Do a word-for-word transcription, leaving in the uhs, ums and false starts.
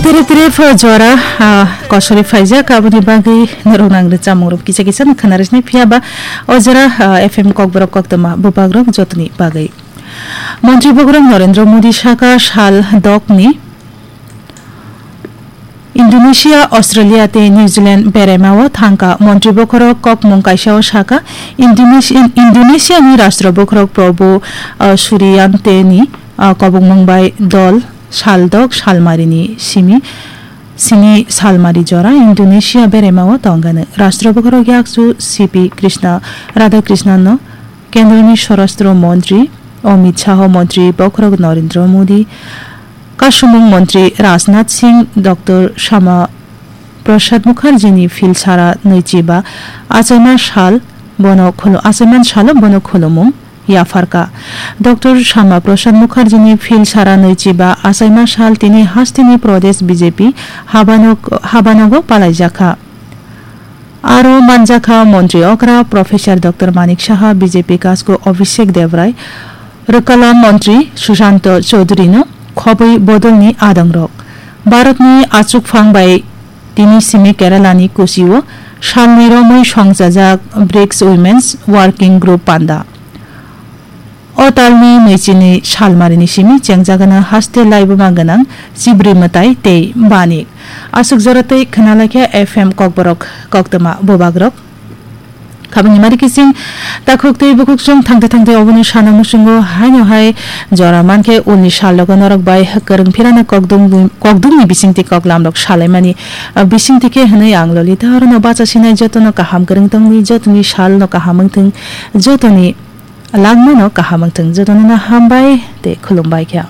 Tere tere pho jora, ah, kosori phaijak, aboni bagwi norok nang rwchapmung rok kisa kisa no khwna rwsnai, phiya ba o jora, ah, F M Kokborok koktwma bwbak rok jotoni bagwi. Montri bokhorok Narendra Modi saka sal dokni Indonesia, Australia tei New Zealand beraima o thangkha. Montri bokhorok kokmung kaisa o saka, Indonesia, Indonesia ni Rashtra bokhorok Prabowo, ah, Suryanteni, ah, kobokmung bai dol sal dok salmari ni simi sini salmari jora Indonesia beraima o tongkha. Rashtra bokhorok yakchu C P Krishna Radhakrishnan no Kendroni Swarashtra Montri Amit Shah, Montri bokhorok Narendra Modi, Kasumung Montri Rajnath Singh, Doctor Shama Prasad Mukherjini phil sara nwichi ba achaima sal bono khulu-, achaima salo bono khulumung yapharkha. Doctor Shama Prasad Mukherjini phil sara nwichi ba achaima sal tini hasteni Pradesh B J P habanog-, habanogo palaijakha. Aro manjakha Montri okra Professor Doctor Manik Saha, B J P kasko Abhishek Debrai, Rwkala Montri Sushanta Chowdhury no khobwi bodolni adongrok. Bharatni achukphang bai tini simi Keralani Kochio salni romwi songchajak BRICS Women's Working Group panda. O talni nwichini salmarini simi chengjagana haste laibuma gwnang chibri mwtai tei banik. Aswk jora tei khwnalaikha F M Kokborok koktwma bubagrok. Khabangni mari kising takhuk tei bukhuk chwng thangte thangte obono sana muchungo haino hai jora mankhe ulni salogo norok bai kwrwng phirano kokdung, kokdungni bisingtwi koklamrok salaimani, ah, bisingtwi khe hwnwi ang Lolita orono bacha sinai jotono kaham kwrwng tongwi jotoni salno kaham wngthwng jotoni Langmano kaham wngthwng, jotono no hambai tei khulumbai kha.